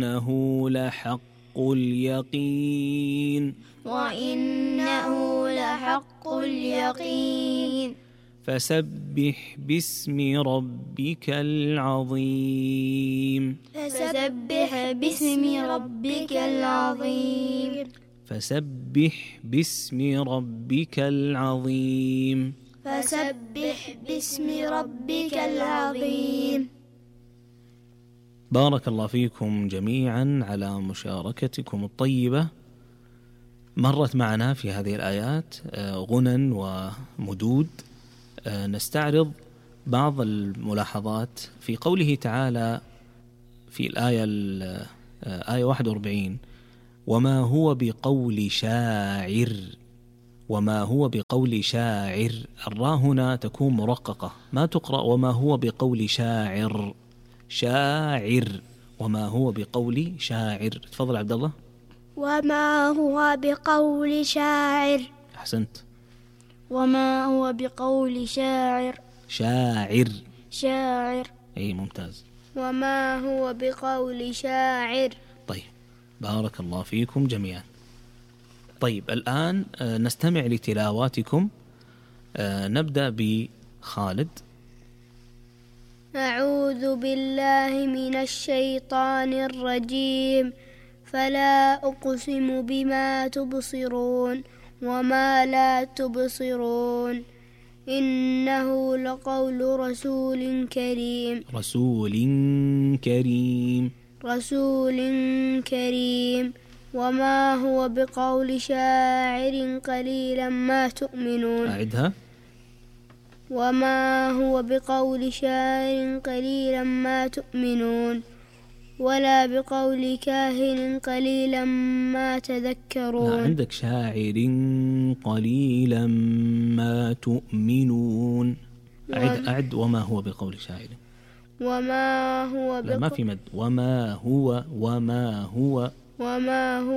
إنه لحق اليقين وإنه لحق اليقين فسبح باسم ربك العظيم فسبح باسم ربك العظيم فسبح باسم ربك العظيم فسبح باسم ربك العظيم. بارك الله فيكم جميعا على مشاركتكم الطيبة. مرت معنا في هذه الآيات غنى ومدود. نستعرض بعض الملاحظات في قوله تعالى في الآية آية 41 وما هو بقول شاعر. وما هو بقول شاعر، الراء هنا تكون مرققة ما تقرأ وما هو بقول شاعر. شاعر وما هو بقول شاعر. تفضل عبد الله. وما هو بقول شاعر. أحسنت. وما هو بقول شاعر. شاعر شاعر. أي ممتاز. وما هو بقول شاعر. طيب بارك الله فيكم جميعا. طيب الآن نستمع لتلاواتكم. نبدأ بخالد. أعوذ بالله من الشيطان الرجيم. فلا أقسم بما تبصرون وما لا تبصرون إنه لقول رسول كريم. رسول كريم. رسول كريم. وما هو بقول شاعر قليلا ما تؤمنون. أعدها. وما هو بقول شاعر قليلا ما تؤمنون ولا بقول كاهن قليلا ما تذكرون. لا عندك شاعر قليلا ما تؤمنون. أعد وما هو بقول شاعر. وما هو لا ما في مد. وما هو. وما هو. وما هو